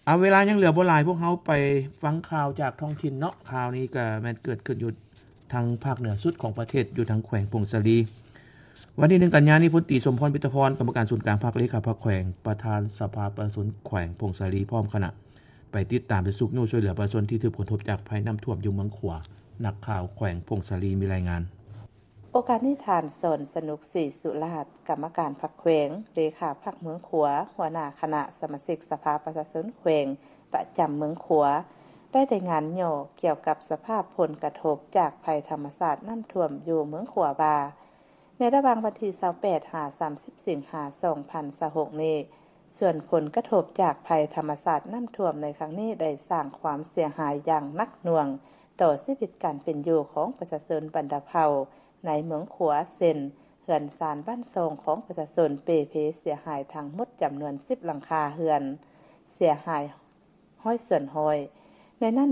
ເອົາ ເວລາຍັງເຫຼືອບໍ່ຫຼາຍ ພວກເຮົາໄປຟັງຂ່າວຈາກທ້ອງຖິ່ນເນາະ. ຂ່າວນີ້ກໍແມ່ນເກີດຂຶ້ນຢູ່ທາງພາກເໜືອສຸດຂອງປະເທດ ຢູ່ທາງແຂວງຜົ້ງສາລີ. ວັນທີໜຶ່ງ ກັນຍານີ້ ພົນຕີ ສົມພອນ ປິດຕະພອນ ກຳມະການສູນກາງພັກ ເລຂາພັກແຂວງ ປະທານສະພາປະຊາຊົນແຂວງຜົ້ງສາລີ ພ້ອມຄະນະ ໄປຕິດຕາມ ແລະ ຊຸກຍູ້ຊ່ວຍເຫຼືອປະຊາຊົນທີ່ຖືກຜົນກະທົບຈາກໄພນ້ຳຖ້ວມຢູ່ເມືອງຂວາ. ນັກຂ່າວແຂວງຜົ້ງສາລີມີລາຍງານ. ໂອກາດນີ້ ທ່ານ ສອນສະໜຸກ ສີສຸລາດ ກຳມະການພັກແຂວງ, ເລຂາພັກເມືອງຂວາ, ຫົວໜ້າຄະນະສະມາຊິກສະພາປະຊາຊົນແຂວງ ປະຈຳເມືອງຂວາ ໄດ້ລາຍງານຫຍໍ້ກ່ຽວກັບສະພາບຜົນກະທົບຈາກໄພທຳມະຊາດນ້ຳຖ້ວມຢູ່ເມືອງຂວາວ່າ, ໃນລະຫວ່າງວັນທີຊາວແປດ ຫາ ສາມສິບ ສິງຫາ ສອງພັນຊາວຫົກນີ້, ສ່ວນຜົນກະທົບຈາກໄພທຳມະຊາດນ້ຳຖ້ວມໃນຄັ້ງນີ້ ໄດ້ສ້າງຄວາມເສຍຫາຍຢ່າງໜັກໜ່ວງຕໍ່ຊີວິດການເປັນຢູ່ຂອງປະຊາຊົນບັນດາເຜົ່າໃນເມືອງຂວາ ເຊັ່ນ ເຮືອນຊານບ້ານຊ່ອງຂອງປະຊາຊົນເປ່ເພເສຍຫາຍທັງໝົດຈຳນວນສິບຫຼັງຄາເຮືອນ, ເສຍຫາຍຮ້ອຍສ່ວນຮ້ອຍ. ໃນນັ້ນ